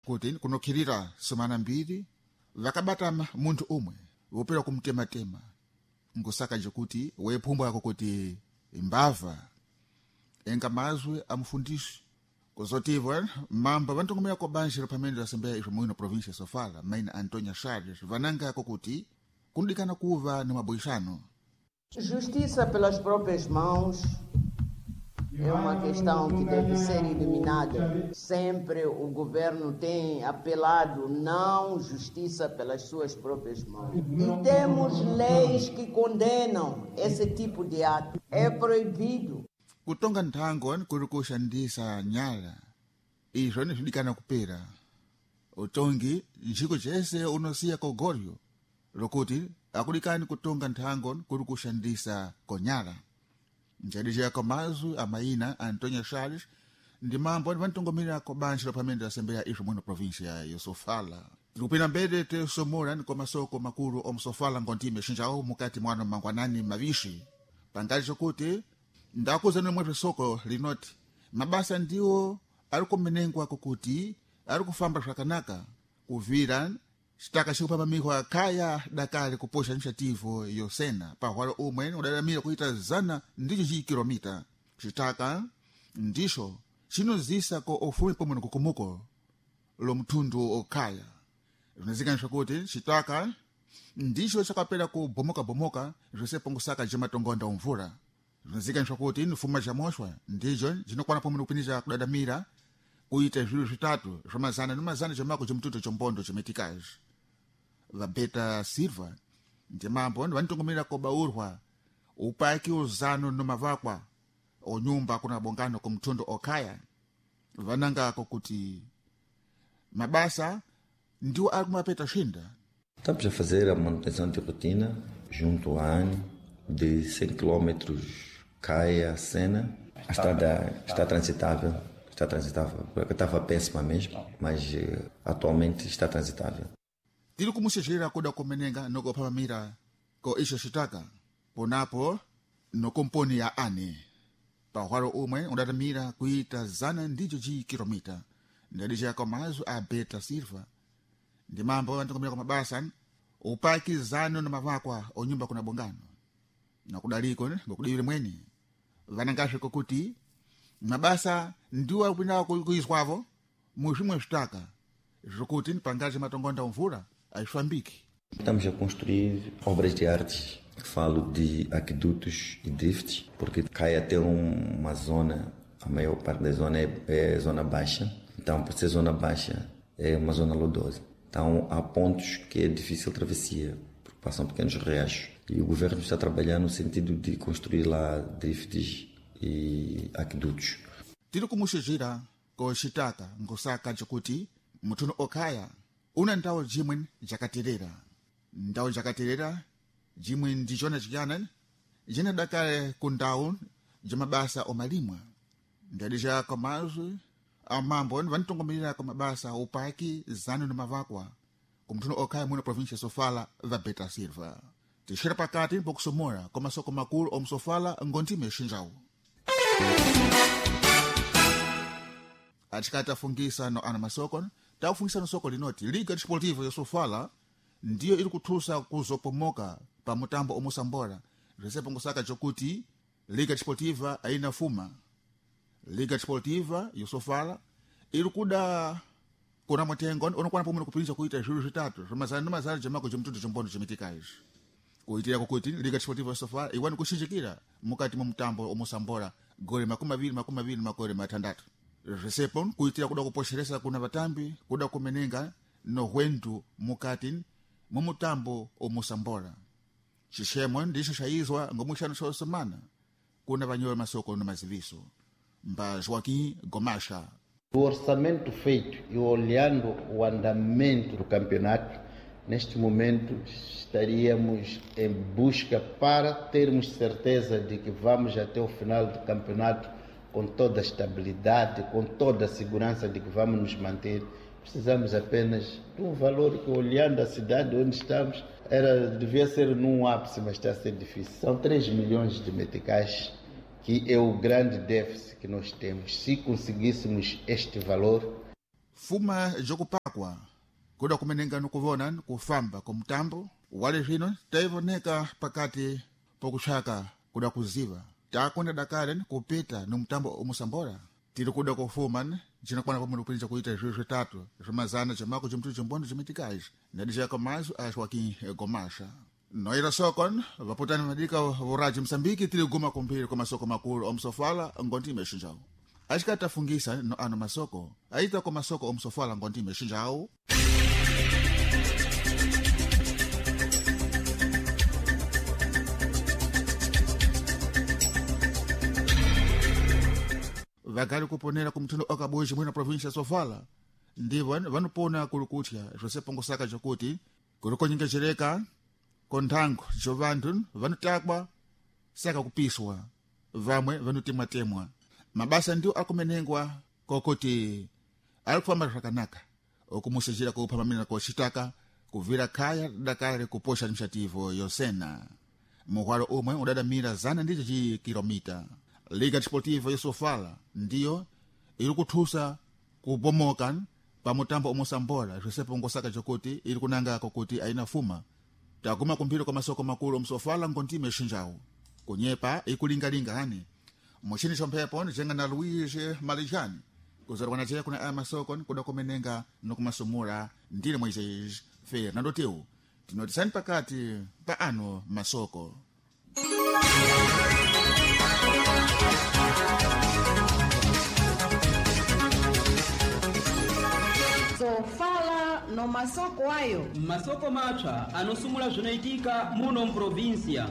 Kuti kunokhirira semana mbiri vakabata munthu umwe wopera kumtematema ngusaka jekuti weiphumbwako kuti imbava enga mazwi amufundisi kuzotivo mambo vantongomeya ko banjiro pamene la asambeya izvo muino província Sofala maina Antonia Charles vanangako kuti kunodikana kuva ni maboixano. Justiça pelas próprias mãos é uma questão que deve ser eliminada. Sempre o governo tem apelado não justiça pelas suas próprias mãos. E temos leis que condenam esse tipo de ato. É proibido. Kutonga nthango kuri kushandisa nyala izvo nizvidikana kupera utongi njiko jese unosiya kogoryo lokuti akudikani kutonga nthango kuri kushandisa konyala njadijaya mazwi amaina Antonio Charles ndi mambo vantongomerera ko banjiro pamene lasembera izvo mwino província ya Sofala. Tikupita mbere tesomora ni kwa masoko makulu omsofala ngontime xinjawo mukati mwano mangwanani mavixi pangali chokuti ndakuzani mwe soko linoti mabasa ndiwo ari kumenengwa kukuti ari kufamba zvakanaka kuvira citaka cikupamamikwa khaya dakali kuposha initiativo yosena pahwalo umwe udalamira kuita zana ndicho cikilomita citaka ndicho cinozisa ko ufumi pomwe nikukumuko lo mthundu okhaya zvinozikaniswa kuti citaka ndicho chakapera kubomoka-bomoka zvose pongosaka jematongonda omvula zvinozikaniswa kuti nifuma ja moxwa ndicho cinokwana pomwe nikupinisa kudadamira kuita zviro zvitatu zvamazana ni mazana jamako jomtutu chombondo chometikazi vabeta Silva ndimambo vanitongomerera kobaurwa upaki uzano nomavakwa onyumba kuna bongano kumtundu okhaya vanangako kuti mabasa ndiwo ari kumapeta shinda. Estamos a fazer a manutenção de rotina junto à ANE de 100 km Caia Sena. A estrada está transitável, está transitável. Porque estava péssima mesmo, mas atualmente está transitável. Tiri kumuxexera kuda kumenenga nokuphamamira ko ixo xitaka ponapo nokomponi ya ane pahwalo umwe udatamira kuita zana ndicho cikilomita ndadixaka mazwi a Beta Silva ndi mambo antikomera kwa mabasa upaki zano na mavakwa onyumba kuna bongano nakudaliko ngokudivire mweni vanangasviko kuti mabasa ndiwo akupinda kuizwavo muzvimwe zvitaka zvokuti pangazi matongonda mvura aifambiki. Estamos a construir obras de artes. Falo de aquedutos e drifts, porque cai até uma zona, a maior parte da zona é zona baixa. Então, por ser zona baixa, é uma zona lodosa. Então, há pontos que é difícil travessia, porque passam pequenos riachos. E o governo está a trabalhar no sentido de construir lá drifts e aquedutos. Tiri kumuxixira koxitaka ngosaka cokuti muthuno okhaya una ndawo jimwe jakaterera ndawo jakaterera jimwe ndicona ciyana jinadakale ku ndawu jamabasa omalimwa ndadija komazwi amambo vanitongomerera kwa mabasa upaki zanu ni mavakwa kumthuno okhaya muno província Sofala va Beta Silva tixera pakati pokusomora kwa masoko makulu omsofala ngontime xinjawu atikati afungisa no ana masoko takufungisa no soko linoti Liga Desportiva ya Sofala ndiyo iri kuthusa kuzopomoka pa mutambo omusambora zvisepo ngusaka chokuti Liga Desportiva aina fuma Liga Desportiva ya Sofala iri kuda kuna mutengo unokwana pomwe kupinza kuita zviru zvitatu zvamazana nemazana jamako chemtutu chombondo chomitika izvi kuitira kukuti Liga Desportiva ya Sofala iwani kuxinjikira mukati mwa mutambo omusambora gole 20 makore 60 zvisepo kuitira kuda kuposheresa kuna vatambi kuda kumenenga nohwendu mukati mwa mutambo omusambora xixemo ndixo xaizwa ngomuxano xa semana kuna vanyola masoko no maziviso mba Joaquim Gomasha. O orçamento feito e olhando o andamento do campeonato, neste momento estaríamos em busca para termos certeza de que vamos até o final do campeonato com toda a estabilidade, com toda a segurança de que vamos nos manter. Precisamos apenas de um valor que, olhando a cidade onde estamos, devia ser num ápice, mas está a ser difícil. São 3 milhões de meticais, que é o grande déficit que nós temos. Se conseguíssemos este valor... Fuma jokupakwa Kutakwa kuda kumenenga nukuvona kufamba kumutambo wale zvino taivoneka pakati pokuxaka kuda kuziva takonda dakale kupita no mutambo omusambora tiri kuda kufuma cinakwana pamwe kupinja kuita zviyo zvitatu zvimazana cimako cimtu cimbondo cimitikazhi nadixaka mazo a Joaquim Gomasha noira sokon vaputani madika vuraji Msambiki tiri guma kumbiri kwa masoko makulu omsofala ngondi mexinjao axikatafungisa no ano masoko aita kwa masoko omsofala ngondi mexinjao. Vakali kuponera kumuthundo okabuji mwina província ya Sofala ndivo vanopona kuli kutya zvosepongosaka jokuti kuli konyengejereka konthango jo vanthu vanotakwa saka kupiswa vamwe vanotemwatemwa mabasa ndio akumenengwa kokuti ali kufamba zvakanaka okumusejera kuphamamira koxitaka kuvira khaya dakale kuposha mxativo yosena muhwalo umwe udadamira zana ndicho ci kilomita. Liga Desportiva yosofala ndiyo iri kuthusa kubomoka pa mutambo omosambola zvisepongosaka jokuti iri kunanga kokuti aina fuma taguma kumphiro kwa masoko makulu omsofala ngontime exinjawu kunyepa ikulingalinga hani muxini xomphepo nijenga na Luiz Malijani kuzarwana ceya kuna aya masoko kuda kumenenga nokumasumula ndile Moisés Fernando Teu tinotisani pakati pa ano masoko. Sofala no masoko ayo. Masoko mapsa anosumula zvinoitika muno mprovinsia.